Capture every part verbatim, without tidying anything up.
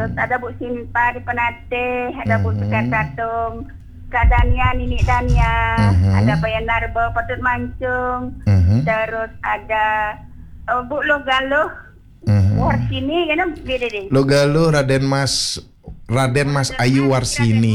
Terus ada Bu Sinta di Penateh, ada Bu Sekar Tatung, Kak Dania, Nini Dania, ada Payan Narba, Patut Mancung, terus ada eh, Bu Loh Galuh, Warsini, kan, Bu Dede? Loh Galuh, Raden Mas Raden Mas Ayu Warsini.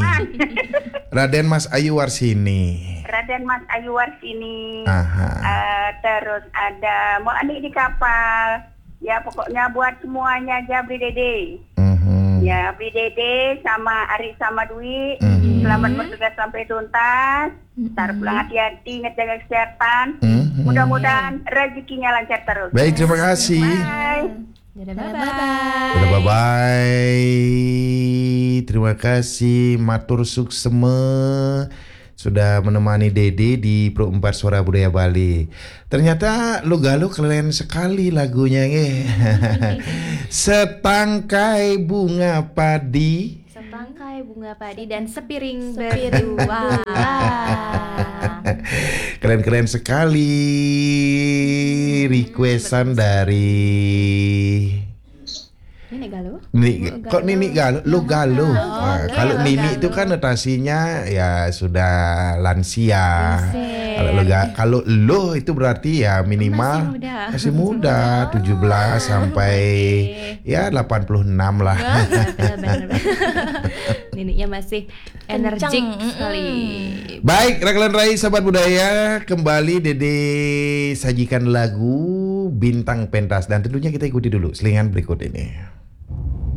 Raden Mas Ayu Warsini. Raden Mas Ayu Warsini. Aha. Eh, terus ada Mak Anik di kapal. Ya, pokoknya buat semuanya aja, Bu Dede. Mhm. Ya, Bu Dede sama Ari sama Dwi. Mhm. Selamat bertugas sampai tuntas. Ntar pulang hati-hati, ingat jaga kesehatan. Mhm. Mudah-mudahan rezekinya lancar terus. Baik, terima kasih. Bye. Dadah, Dadah, bye-bye. bye-bye. Dadah, bye-bye. Terima kasih, matur suksema sudah menemani Dede di Pro empat Suara Budaya Bali. Ternyata Loh Galuh keren sekali lagunya, nggih. Setangkai bunga padi. Setangkai bunga padi dan sepiring, Sepiring berdua. Keren-keren sekali requestan dari Ini Galuh? Nini, kok Nini Galuh? Loh Galuh. Oh, Nah, Loh kalau Galuh. Nini itu kan notasinya ya sudah lansia. Lansia. Kalau Loh Ga- kalau Loh itu berarti ya minimal Masih muda. masih muda, tujuh belas sampai ya delapan puluh enam lah. Benar, benar, benar. Nininya masih energik Kencang, mm-mm. sekali. Baik, Raglan Rai, sahabat budaya, kembali Dede sajikan lagu Bintang Pentas dan tentunya kita ikuti dulu selingan berikut ini.